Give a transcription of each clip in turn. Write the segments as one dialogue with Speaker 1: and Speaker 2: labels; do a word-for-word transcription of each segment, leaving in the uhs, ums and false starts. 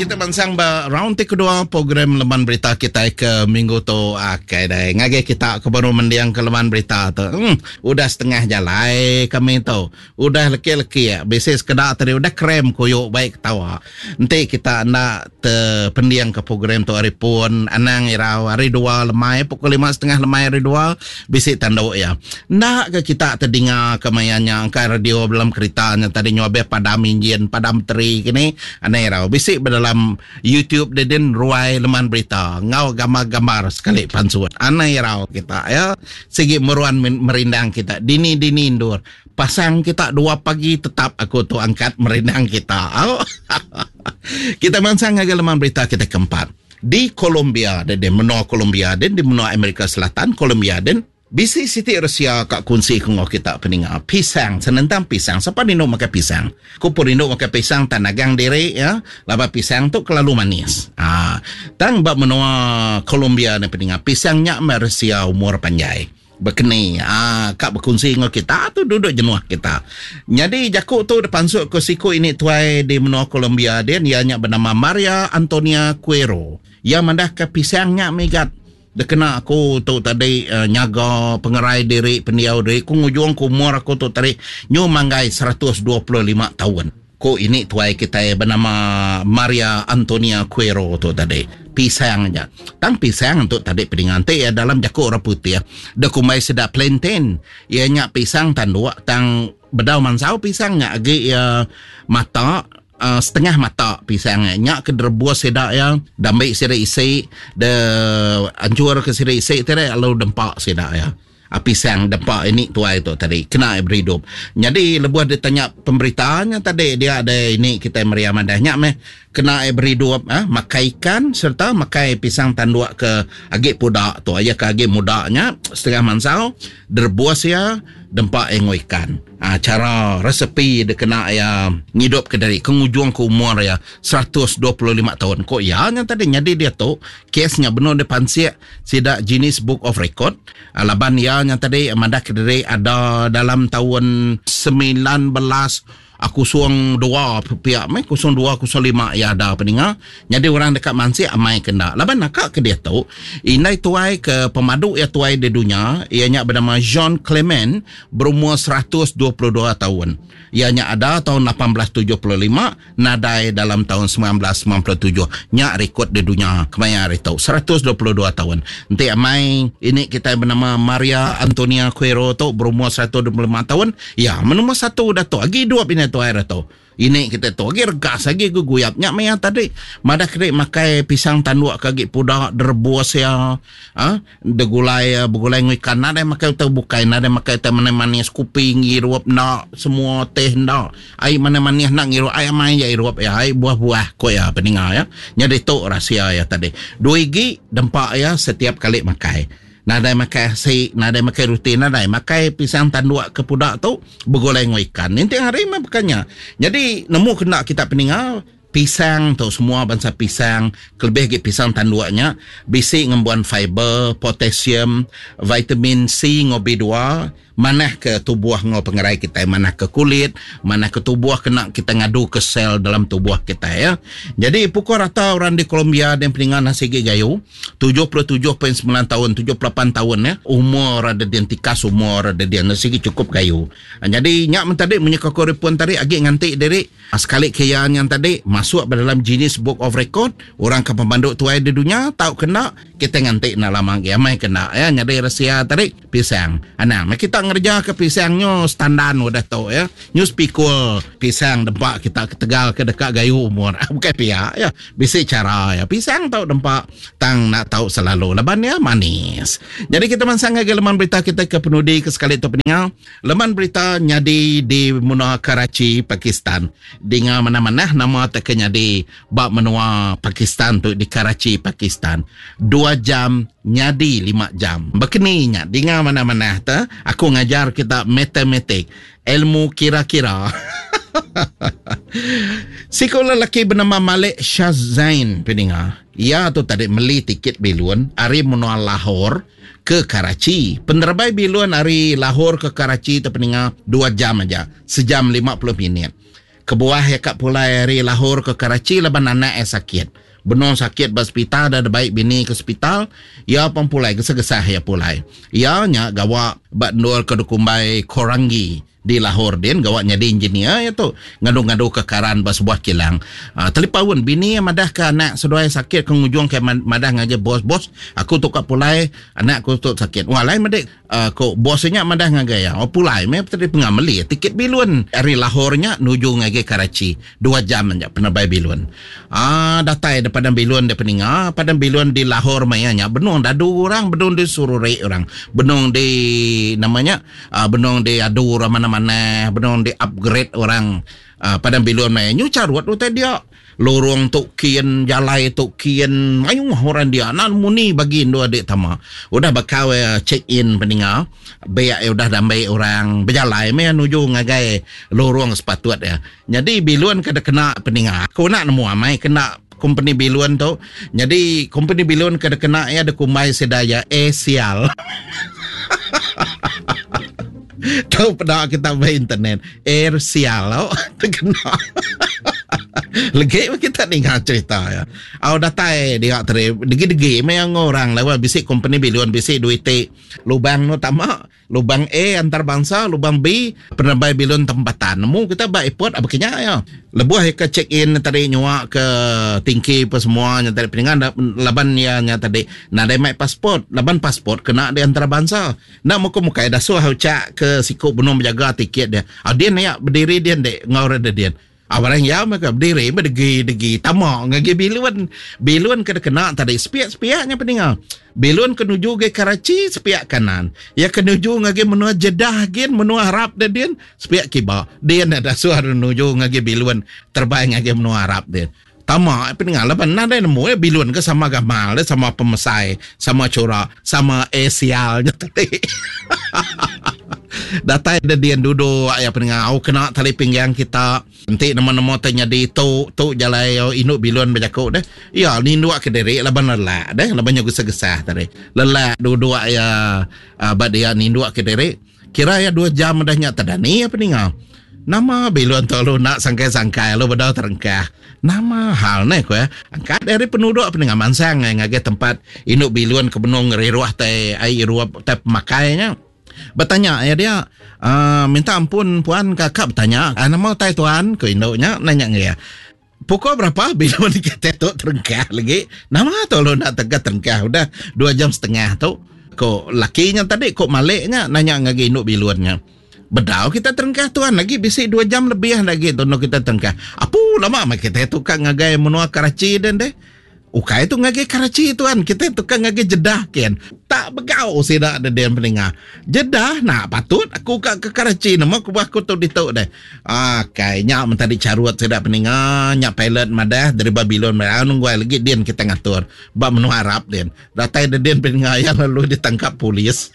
Speaker 1: Kita bansang ba round ti kedua program Leman Berita kita ke minggu tu. Okey deh. Ngagai kita ke baru mendiang ke Leman Berita tu. Hmm, udah setengah jalai kami tu. Udah leki-leki ya. Bisi sekeda tadi udah krem kuyuk baik ketawa. Enti kita enda terpendiang ke program tu hari pun anang irau hari dua lemai pukul lima setengah lemai hari dua bisi tanduk ya. Enda ke kita terdengar ke mayanya angka radio dalam kereta nya tadi nyuabeh padam enjin, padam teri kini anang irau. Bisi dalam YouTube dedin ruai Leman Berita ngau gambar-gambar sekali pansut. Anai irau kita ya. Sigi meruan merindang kita. Dini-dini indur. Pasang kita dua pagi tetap aku tu angkat merindang kita. Oh. Kita mansang ngagai Leman Berita kita keempat. Di Colombia, di menua Colombia, dan di menua Amerika Selatan, Colombia dan bisi siti Rusia kak kunci kengok kita peninga pisang senentang pisang. Siapa rindu makan pisang? Ku pun rindu makan pisang tan agang diri ya. Laba pisang tu kelalu manis. Ah, tang bab menua Colombia ni peninga pisang nyak Rusia umur panjai. Berkeni ah kak berkunci dengan kita tu duduk jenuh kita. Jadi jakuk tu depan suk ke siku ini tuai di menua Colombia dia dia nyak bernama Maria Antonia Cuero. Ia mandah ke pisang nyak migat. Dia kena aku tu tadi uh, nyaga pengerai diri pendiau diri ku ngujung ku umur aku tu tadi nyu manggai seratus dua puluh lima tahun. Ku ini tuai kita bernama Maria Antonia Cuero tu tadi. Pisang aja. Tang pisang tu tadi pedinganti ya dalam jakuk orang putih. Dia kumai sedap plantain. Ia nyak pisang tanduk tang bedau mansau pisang nyak agi ya mata. Uh, setengah mata pisang nyak ke derebus sedak ya dambik sira isi de ancur ke sira isi tere lalu dempak sedak ya. Pisang dempak ini tuai tu tadi kena berhidup. Jadi lebuh dia tanya pemberitaannya tadi dia ada ini kita meriah madahnya meh kena berhidup ah ha? Makai ikan serta makai pisang tanduk ke agik pudak tu aja ke agik mudaknya setengah mansau derebus ya dempak engo ikan. Ha, cara resepi dia kena ya ngidup ke dari kengujung ke umur ya seratus dua puluh lima tahun. Kok ya yang tadi jadi dia tu kesnya benar dia pansik sidak Guinness Book of Record. Ha, laban ya yang tadi madah ke dari ada dalam tahun sembilan belas aku suang dua pihak mai kosong dua kosong lima ya ada peninga. Jadi orang dekat mansik amai kena. Laban nakak ke dia tu indai tuai ke pemadu ya tuai di dunia ianya bernama Jean Clement berumur seratus dua puluh dua tahun. Ianya ada tahun lapan belas tujuh puluh lima nadai dalam tahun sembilan belas sembilan puluh tujuh. Nyak rekod di dunia kemaya hari tu seratus dua puluh dua tahun. Nanti amai ini kita bernama Maria Antonia Cuero tu berumur seratus dua puluh lima tahun. Ya menumur satu dah tu lagi dua bina tu air tu. Ini kita tu lagi regas lagi guguyap nyak maya tadi madah krik makai pisang tanduk kagi pudak derebus ya ha degulai bergulai ngu ikan nada makai utai bukai nada makai teh manis kuping ngirup nak semua teh ndak ai manis nak ngirup ai mai ya irup ya ai buah-buah ko ya peninga ya. Jadi tu rahsia ya tadi. Dua igi dempak ya setiap kali makai. Nadai makai asi, nadai makai ruti, nadai makai pisang tanduk ke pudak tu bergulai ngu ikan. Nanti hari mah bukannya. Jadi nemu kena kita peninga pisang tu semua bangsa pisang, kelebih lagi pisang tanduknya bisi ngembuan fiber, potasium, vitamin C ngo B dua, manah ke tubuh ngo pengerai kita, manah ke kulit, manah ke tubuh kena kita ngadu ke sel dalam tubuh kita ya. Jadi pukul rata orang di Colombia dan peningan nasi gayu tujuh puluh tujuh perpuluhan sembilan tahun, tujuh puluh lapan tahun ya. Umur ada dia tikas umur ada dia nasi cukup gayu. Jadi nyak mentadi menyekakori pun tadi agi nganti diri sekali kian yang tadi masuk dalam Guinness Book of Record orang ke pemanduk tuai di dunia tahu kena kita nganti nak lama ya mai kena ya. Jadi rahsia tadi pisang. Anang kita ngerja ke pisangnya standar udah tu ya. News pikul pisang dempak kita ke Tegal ke dekat gayu umur. Bukan pihak ya. Bisi cara ya. Pisang tau dempak tang nak tahu selalu laban ya manis. Jadi kita mansang ke leman berita kita ke penudi ke sekali tu peningal. Leman berita nyadi di menua Karachi, Pakistan. Dengar mana-mana nama tak nyadi bab menua Pakistan tu di Karachi, Pakistan. Dua jam nyadi lima jam. Berkeninya dengar mana-mana ta aku ngajar kita matematik, ilmu kira-kira. Sekolah lelaki bernama Malik Shahzain peninga. Ia tu tadi meli tiket bilun ari menua Lahore ke Karachi. Penerbai bilun ari Lahore ke Karachi tu peninga dua jam aja, sejam lima puluh minit. Kebuah ya kak pulai hari Lahore ke Karachi laban anak ya sakit. Benung sakit ba hospital dah baik bini ke hospital, ya pun pulai gesah-gesah ya pulai. Ya nya gawa ba nur ke dukumbai Korangi di Lahore din gawa nyadi engineer ya tu ngadu-ngadu ke karan ba sebuah kilang. Uh, telipaun bini yang madah ke anak seduai sakit ke ngujung ke madah ngaje bos-bos aku tu kat pulai anak aku tu sakit. Wah lain medik uh, ko bosnya madah ngagai ya. Oh pulai me tadi pengameli tiket bilun dari Lahore nya nuju ngagai Karachi dua jam nya penerbai bilun. Ah uh, datai depan bilun dia peninga padang bilun di Lahore maya nya benung dadu orang benung di surure orang benung di namanya uh, benung di adu orang mana mana benung di upgrade orang uh, padang bilun maya nyu carut utai dia lorong tok kian jalai tok kian mayung orang dia nan muni bagi dua adik tama udah bakal uh, check in peninga beak udah dambai orang berjalai me nuju ngagai lorong sepatut ya. Jadi bilun kada kena peninga aku nak nemu amai kena company bilun tu. Jadi company bilun kada kena ya ada kumbai sedaya eh sial. Tahu pada kita ba internet air sial oh terkena. Legi kita dengar cerita ya. Au datai dia tadi degi-degi memang orang lewat bisik company bilun bisik duit lubang no tama lubang A antarabangsa lubang B penerbai bilun tempatan. Nemu kita ba airport apa kenya ya. Lebuh ke check in tadi nyua ke tingki apa semua nya tadi peningan laban ya nya tadi nadai mai pasport laban pasport kena di antarabangsa. Nak muka muka dah suah ucak ke siku benung berjaga tiket dia. Ah dia ni berdiri dia dek ngau ada dia. Abarang ya mereka berdiri berdegi-degi tamak ngagi bilun. Bilun kena kena tadi sepiak-sepiaknya peninga. Bilun kenuju ke Karachi sepiak kanan. Ya kenuju ngagi menua Jeddah gin menua Arab dia din sepiak kiba. Dia ada suara menuju ngagi bilun terbaik ngagi menua Arab dia. Tamak peninga laban nadai nemu ya bilun ke sama gamal dia sama pemesai, sama corak, sama esialnya tadi. Datai dia dia duduk ya peninga au kena tali pinggang kita. Nanti nama-nama tanya di tu tu jalai induk bilun berjakuk deh. Ya ninduk ke diri laban lelak deh, laban nya gesah-gesah tadi. Lelak duduk ya uh, dia ninduk ke diri. Kira ya dua jam dah nya tadani ya peninga. Nama bilun tu lu nak sangkai-sangkai lu bedau terengkah. Nama hal ni ko ya. Angkat dari penduduk peninga mansang ngagai tempat induk bilun ke benung ngeriruah tai ai ruap tai pemakainya. Bertanya ya dia uh, minta ampun puan kakak bertanya ah, nama tai tuan ko induknya nanya dia pukul berapa bilun kita tu terengkah lagi nama tu lu nak tegak terengkah udah dua jam setengah tu ko lakinya tadi ko maliknya nanya ngagi induk bilunnya bedau kita terengkah tuan lagi bisi dua jam lebih lagi tu kita terengkah apu lama mak kita tu kan ngagai menua Karachi dan deh Ukai tu ngagai Karachi tuan, kita tukang ngagai Jeddah ken. Tak begau sida ada dia pendengar. Jeddah nak patut aku kat ke Karachi nama aku aku tu dituk deh. Ah kai nya mentadi carut sida pendengar, nya pilot madah dari Babylon madah nunggu lagi dia kita ngatur. Ba menua Arab dia. Datai dia dia pendengar yang lalu ditangkap polis.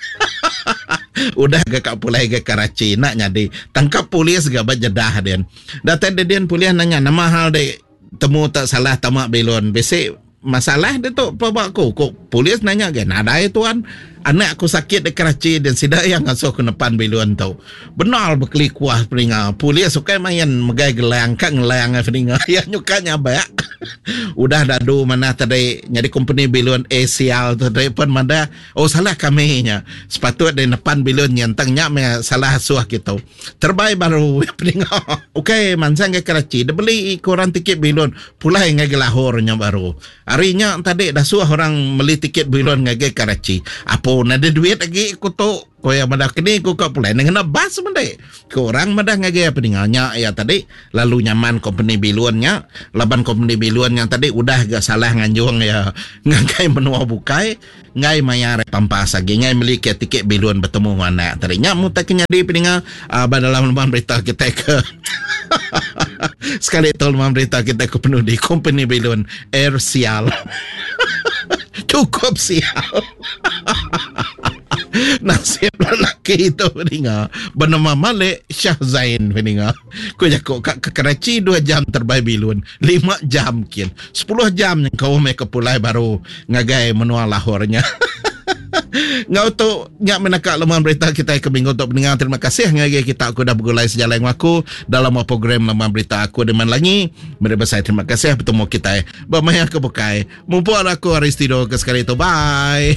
Speaker 1: Udah ke kat pulai ke Karachi nak nyadi tangkap polis ke ba Jeddah dia. Datai dia dia polis nanya nama hal dek temu tak salah tamak bilon. Besok masalah dia tu apa aku kok polis nanya ke nadai tuan anak aku sakit di Karachi dan sida yang ngasuh ke depan bilun tu benar berkelikuah peninga polis suka main megai gelang kat ngelang peninga ya nyuka nyabak udah dadu mana tadi jadi company bilun Asial tu tadi pun mana oh salah kami nya sepatut di depan bilun nyentang nya salah asuh gitu terbaik baru peninga okey mansang ke Karachi dia beli koran tiket bilun pulai ngagai Lahore nya baru harinya tadi dah suah orang beli tiket bilun ngagai Karachi apa nada duit lagi aku tu ko yang madah kini ku kau pulai dengan bas mendek ko orang madah ngagai apa ninganya ya tadi lalu nyaman company bilunnya laban company bilun yang tadi udah gak salah nganjung ya ngagai menua bukai ngai mayar pampas lagi ngai beli ke tiket bilun bertemu anak tadi nya mu tak nyadi peninga uh, dalam lembaran berita kita ke sekali tu lembaran berita kita ke penuh di company bilun Air Sial. Cukup sial. Nasib lelaki itu peninga bernama Malik Shah Zain peninga. Ku jakuk kat ke Karachi dua jam terbaik bilun, lima jam kin, sepuluh jam yang kau mereka pulai baru ngagai menua Lahornya. Ngau tu nya menaka leman berita kita ke minggu tu pendengar. Terima kasih ngagai kita aku dah begulai sejalai dengan aku dalam program leman berita aku dengan lagi. Meri besai terima kasih bertemu kita bermaya ke bukai. Mumpung aku hari studio ke sekali tu. Bye.